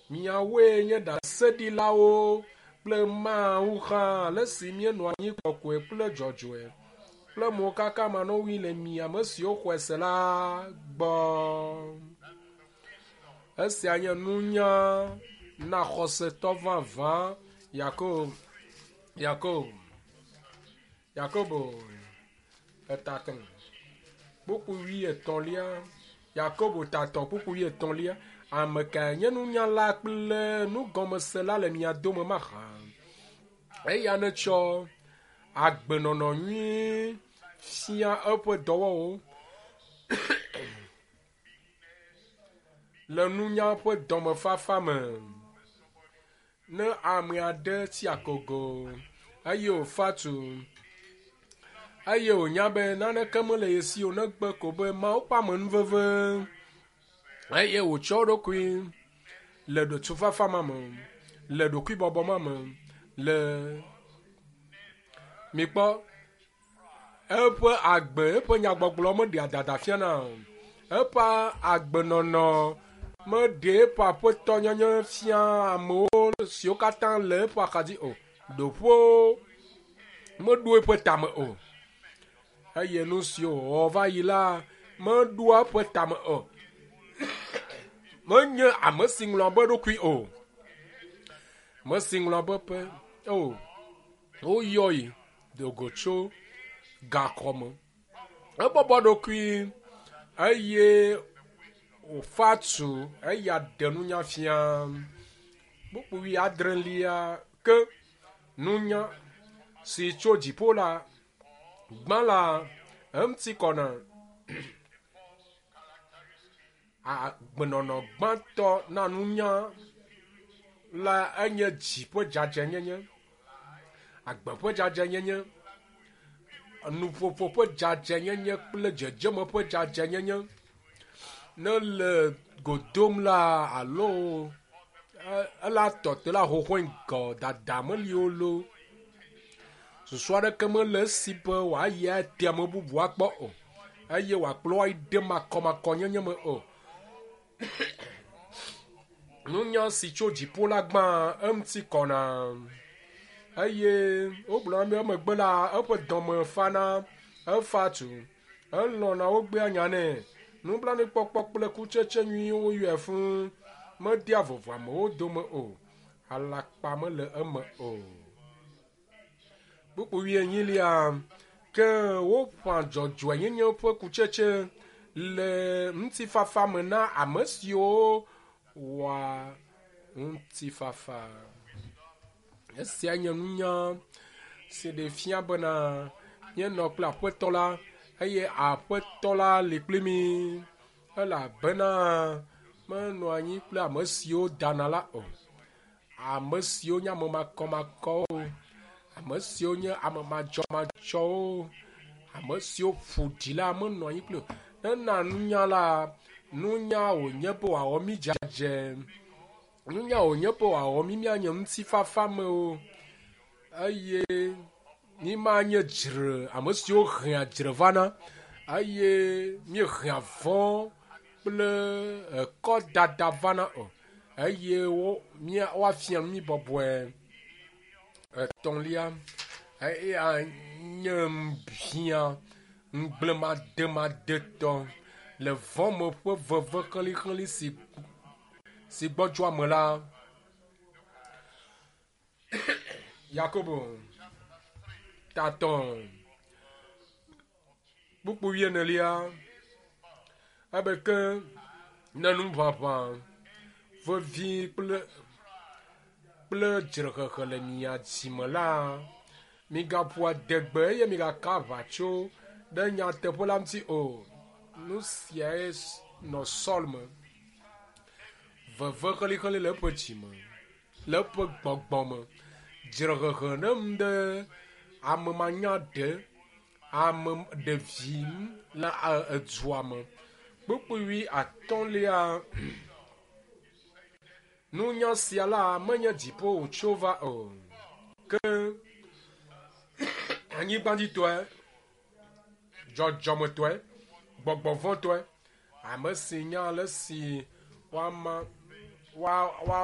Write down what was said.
Miawoe nye ɖaseɖilawo kple Mawu hã le si míenɔ anyi kɔkɔe kple dzɔdzɔe kple mokaka manɔŋui le mi ame siwo xɔe se la gbɔ. Esia nye nunya na xɔsetɔ vavã Yakob Yakob Yakobo etatɔ̃ kpukpui wuietɔ̃lia Yakobo tatɔ̃ kpukpui wuietɔ̃lia Ame kae nye nunyala kple nugɔmesela le mia dome mahã? Eya netsɔ agbenɔnɔ nyui fia eƒe dɔwɔwɔwo le nunya ƒe dɔmefafa me. Ne ame aɖe tsi akogo eye wòfa tu eye wònya be naneke mele ye si o negbe ko be Mawu ƒe amenuveve eye wòtsɔ eɖokui le ɖotufafa ma me, le ɖokuibɔbɔ ma me, le mikpɔ eƒe agbe, eƒe nyagbɔgblɔ meɖea dada fiana o. Eƒe agbenɔnɔ meɖe eƒe aƒetɔnyenye fia amewo siwo katã le eƒe axadzi o. Ɖoƒewo meɖo eƒe tame o. Eye nu siwo wòwɔ va yi la meɖoa eƒe tame o. Menye ame si ŋlɔa be eɖokui o. Ame si ŋlɔa be ƒe o. Woyɔe do go tso gaxɔ me. Ebɔbɔ ɖokui eye wòfa tu eya ɖe nunya fia. Kpukpui adrelia ke nunya si tso dziƒo la gbã la eŋuti kɔna. Agbenɔnɔ gbãtɔ na nunya la enye dzi ƒe dzadzɛnyenye, agbe ƒe dzadzɛnyenye, nuƒoƒo ƒe dzadzɛnyenye kple dzedzeme ƒe dzadzɛnyenye. Ne le go dom la alo ela tɔ te la xoxoe ŋgɔ dada meli o lo. Susu aɖeke mele esi be wòayi ate ame bubu akpɔ o eye wòakplɔ ayi ɖe makɔmakɔnyenye me o. Nunya si tso dziƒo la gbã eŋuti kɔna eye wogblɔ na be emegbe la eƒe dɔme fana, efa tu, elɔ̃na wogbea nya nɛ. Nublanuikpɔkpɔ kple kutsetse nyuiwo yɔe fũu. Medea vovo amewo dome o. Alakpa mele eme o. Kpukpui wuienyilia ke woƒã dzɔdzɔenyenye ƒe kutsetse le ŋutifafa me na ame siwo wɔa ŋutifafa. Esia nye nunya si ɖe fia bena míenɔ kple Aƒetɔ la eye Aƒetɔ la li kpli mí elabena menɔ anyi kple ame siwo dana la o. Ame siwo nye ame makɔmakɔwo, ame siwo nye ame madzɔmadzɔwo, ame siwo ƒo ɖi la menɔ anyi kpli o. Ena nunya la, nunya wònye be wòawɔ mí dzadzɛ. Nunya wònye be wòawɔ mí míanye ŋutifafamewo eye mímanye dzre, ame siwo hea dzre vana eye míehea vɔ̃ kple ekɔdada vana o. Eye wo mía woafia nu mí bɔbɔe. Etɔ̃lia, eya nye ŋbiã ŋugblẽmademadetɔ le vɔ̃ me ƒe veve xlixlixi si si gbɔdzɔa me la. Yakobo tatɔ̃ kpukpui wuienelia ebe ke ne nuʋaʋã vevi kple kple dzrehehe le mia dzi me la, migaƒo adegbe eye migaka aʋatso ɖe nyateƒe la ŋuti o. Nu siae nɔ Saul me. Veve xlixli le eƒe dzi me, le eƒe gbɔgbɔ me. Dzrehehe ne nu ɖe ame manyaɖe, ame ɖevi le edua me. Kpukpui wuiatɔ̃lia. Nunya sia la menye dziƒo wòtso va o, ke anyigbadzitɔe, dzɔdzɔmetɔe, gbɔgbɔvɔ̃tɔe, ame si nya ale si woama woa woa.